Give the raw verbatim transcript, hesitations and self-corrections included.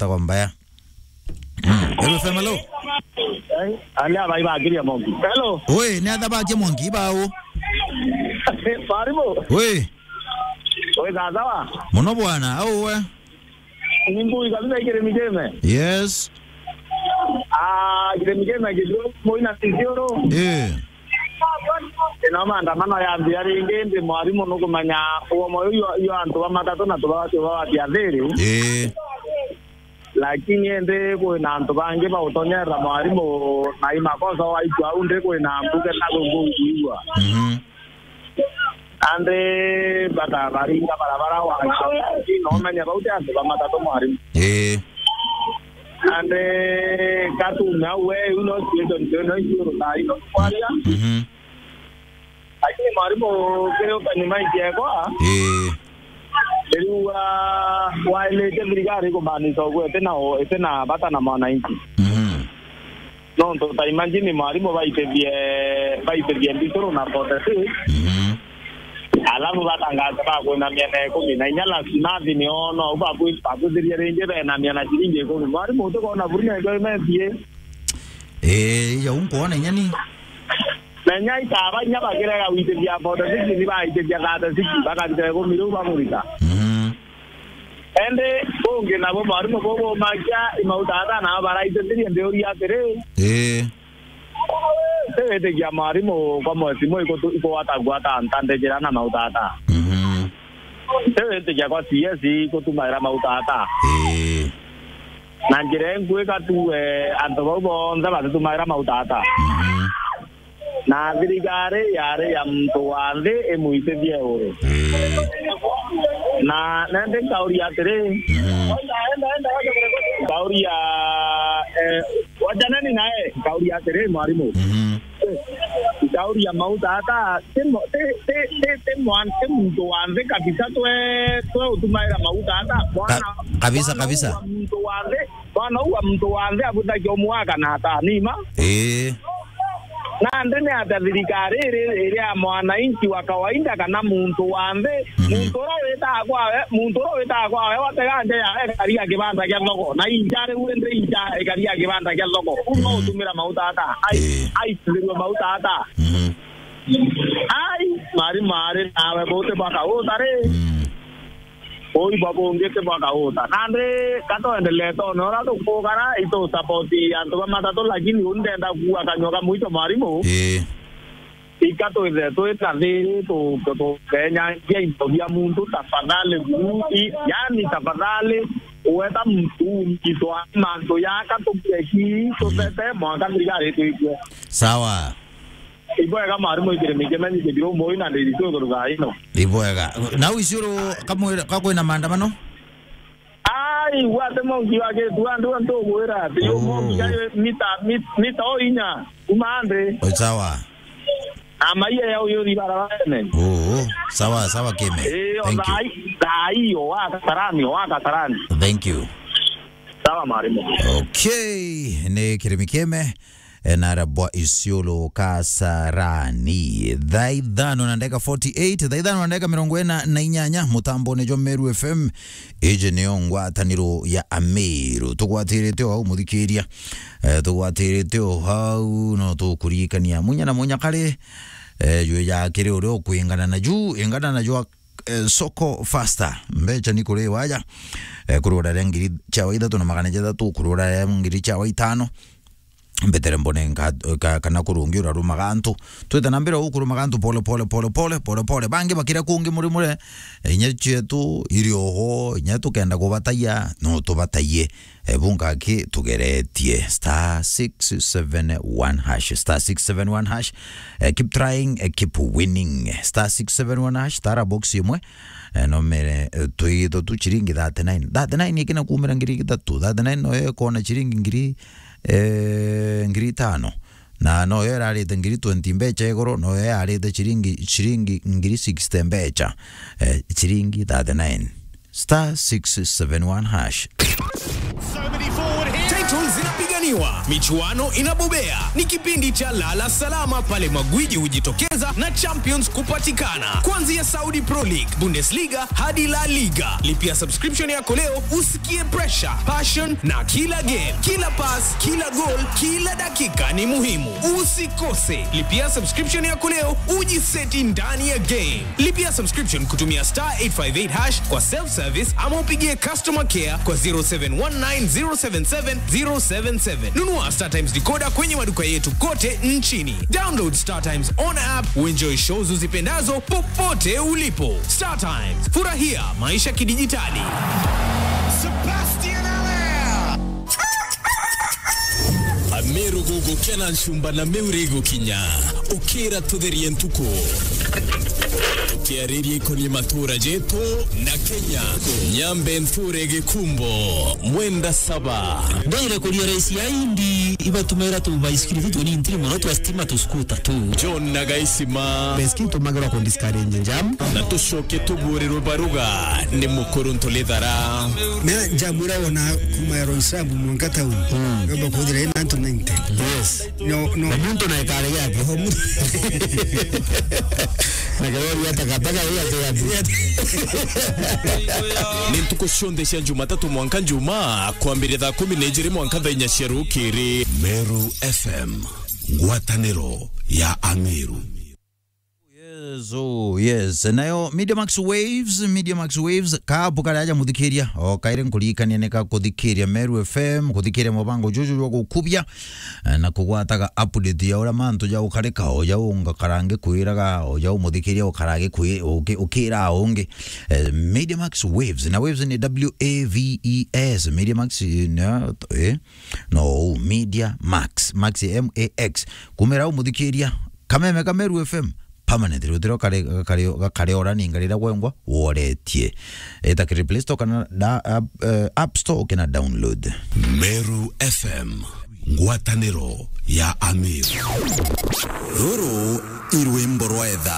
Tagwa mbaya. Mm. Hello, F M, hello. Eh, aria bai bakiria Mwangi. Hello. Oi, ni atha bakia Mwangi, bau. Mwarimu. Oi. Oi, sawa. Muno bwana, au we? Ni ngui kabisa ikirimi kime. Yes. Ah, kirimi kime kitu, moina sisioro. Eh. Ino maandamano yambia ringi, ndi mwarimu nukumenya uomo uyu, uyu antu ba matatu na tubawati, ubawati athiri. Eh. Lakini indi kwina antu bangi bautonyerera mwarimu na imakosa waikua au ndi kwina mbuge na gungu kuigua. Mhm. Andi bata baringa barabara wa no menya bau ti antu ba matatu mwarimu. Eh. Andi katume au we, you know, situation ndio no issue ru tai no kwaria. Mhm. Lakini mwarimu, kiri ukanyuma ikiekwa, eh, riu wa-, wailite thirikari kumaanisha uguo iti na u-, iti na bata na mwananchi. Mhm. Nontu ta imagine mwarimu baitithie, baitithie mbituru na forty six, mhm, alafu batangaza bakwina miana ikumi na inya, lazima athi niono au bakwi-, bakwithirie ringi bena miana ciringi ikumi. Mwarimu, utikona buri na ikio imethie? Eh, iya unkwona inya ni? Menya itaba inya bakirega gwitithia forty six, ni baitithia thirty six, bakabita ikumi riu bamurika. Mhm. Indi ungi nabo mwarimu bo bomakia imautata nabo baraitithirie ndiuria atiri. Eh. Tiwitikia mwarimu kwa mwesimu ikutu-, ikwatagua ta ntandijira na mautata. Mhm. Tiwitikia kwa C S ikutumaira mautata. Eh. Na njira inkwika tu, eh, antu bau bonthe batitumaira mautata. Mhm. Na thirikari yari ya muntu wa nthi imwitithie uru. Ii. Na nandi nkauria atiri, mhm, nkauria, eh, wajanani nae, nkauria atiri, mwarimu. Mhm. Nkauria mauta ata, ti mo-, ti, ti, ti, ti mwan-, ti muntu wa nthi kabisa twe, twe utumaira mauta ata. Mwana, kabisa, mwana kabisa. Wa muntu wa nthi, mwana uu wa muntu wa nthi abutagia umwaka na atanima. Ii. Nandi ni atia thirikari iri, iri ya mwananchi wa kawaida kana muntu wa nthi? Mhm. Muntu uria witaa kwawe, muntu uria witaa kwawe, watega nja yawe, ikaria kibanda kia thoko. Na inja riu indi inja ikaria kibanda kia thoko. Uu no, mhm, utumira mauta ata? Ai, ii, aitithirwe mauta ata? Mhm. Ai, mari mari nawe buti bwaka uta ri? Mm. Ui bwa bungi ti bwa kauta. Nandi ka twendelee tone uria tukugara, itusapoti antu ba matatu, lakini uu ndenda kuuga kanyua ka mwicho, mwarimu. Ii. Ika twithe twi na thiri, tu-, tu-, tukenyangia into bia muntu, tafadhali, buru, i-, yani, tafadhali, uweta muntu, itwa mantu yaka tukeki, tutete, mwanka thirikari itwikue. Sawa. Ibwega mwarimu, ikirimi kimenyi kithiro moi na ndiritu iguru thaa ino. Ibwega. Nau Isiolo kamwira, ka kwina maandamano? Ai, gwate mongi wa gitu, andu antu gwira ati, yo, oh, mongi ya mita, mit-, mita o inya, kuma ande. Oh, sawa. Ama iya ya uyu ri barabarene. Oh, sawa, sawa, Kime. Eh, thank you. Thaa i-, thaa iyo, wa Kasarani, wa Kasarani. Thank you. Sawa, mwarimu. Okay, ni kirimi Kime. E, nara bwa Isiolo Kasarani. Thaa ithano na ndagika forty-eight, thaa ithano na ndagika mirongo ina na inyanya, mutambone jwa Meru F M, iji niyo ngwataniro ya Ameru. Tugwatirite o hau, muthikiria. E, tugwatirite o hau, no tukuririkania munya na munya kari, e, jwe ja kiri uria ukwingana na ju, ingana na jwa, e, soko faster. Mbecha ni kuri waja. E, kurura ria ngiri chawa ithatu na magana jathatu, kurura ria ngiri chawa itano. Mbetere mbone nka-, ka-, kana kurungi urarumaga antu. Twite na mbere ukurumaga antu pole, pole, pole, pole, pole, pole. Bangi bakira kungi muri mure, inya cietu iri oho, inya tukenda kubatayia, no tubatayie. E, bunga ki tugeretie. Star six seven one hash, star six seven one hash. E, keep trying, e, keep winning. Star six seven one hash, tara box imwe. E, no mere, e, tuigitho tu chiringi thirty-nine. Thirty-nine ikina kumira ngiri ithatu. Thirty-nine no yo ikona chiringi ngiri eh, ngiri itano. Na no yo irarite ngiri twenty mbecha iguru, no yo yarite chiringi, chiringi ngiri sixty mbecha, eh, chiringi thirty-nine. Star six seven one hash. So many forward here. Titles zinapiganiwa, michuano inabobea. Ni kipindi cha lala salama pale magwiji hujitokeza na champions kupatikana. Kuanzia Saudi Pro League, Bundesliga hadi La Liga. Lipia subscription yako leo usikie pressure, passion na kila game, kila pass, kila goal, kila dakika ni muhimu. Usikose. Lipia subscription yako leo ujiseti ndani ya game. Lipia subscription kutumia star eight five eight hash kwa self service ama upigie customer care kwa zero seven one nine zero seven seven zero seven seven. Nunua Star Times decoder kwenye maduka yetu kote nchini. Download Star Times on app, uenjoy shows uzipendazo popote ulipo. Star Times, furahia maisha kidijitali. Sebastian Allaire. Ameru gugukena nchumba na miuri gukinya. Ukira tutherie ntuku. Tukiariria ikonie matura jetu na Kenya. Nyambe nthure Gikumbo, Mwenda Saba. Ndire kuria raisi ya indi, ibatumira tu baisikiri tu tuni ntiri mono twa stima tu skuta tu. John na Gaisima. Baisikiri tumagirwa ku discourage jam. Na tucoke tuburirwe baruga ni mukuru Ntulithara. Na jam ira wona kuma ya Roysambu mwanka town. Mm. Yomba kuthira ina antu ninety. Yes. No, no. Na muntu na ekare yake. Ho mu- Na karori ya takataka ya tu ya tu. Ni ntuku cionthe cia Jumatatu mwanka Njumaa, kwambiria thaa kumi na ijiri mwanka thaa inya cia rukiri. Meru F M, ngwataniro ya Ameru. Yes, oh, yes. Nayo Media Max Waves, Media Max Waves, kabu kari aja muthikiria. O kaire nkuririkania ni ka kuthikiria Meru F M, kuthikiria mubango juju jwa gukubia, eh, na kugwataga update ya uria mantu ja ukarika, o ja ungakarange kwiraga, o ja umuthikiria ukarage kwi-, uki-, ukira ungi. Eh, Media Max Waves, na Waves ni W A V E S, Media Max, eh, na, eh, no, Media Max, Max M A X. Kumira umuthikiria, Kameme ka Meru F M, permanently, utiro kare, kare, kare ora ninga rira gwengwa woretie. Eta kiri Play Store kana da, app, eh, App Store ukina download. Meru F M, ngwataniro ya Ameru. Ruru i rwimbo rwa etha.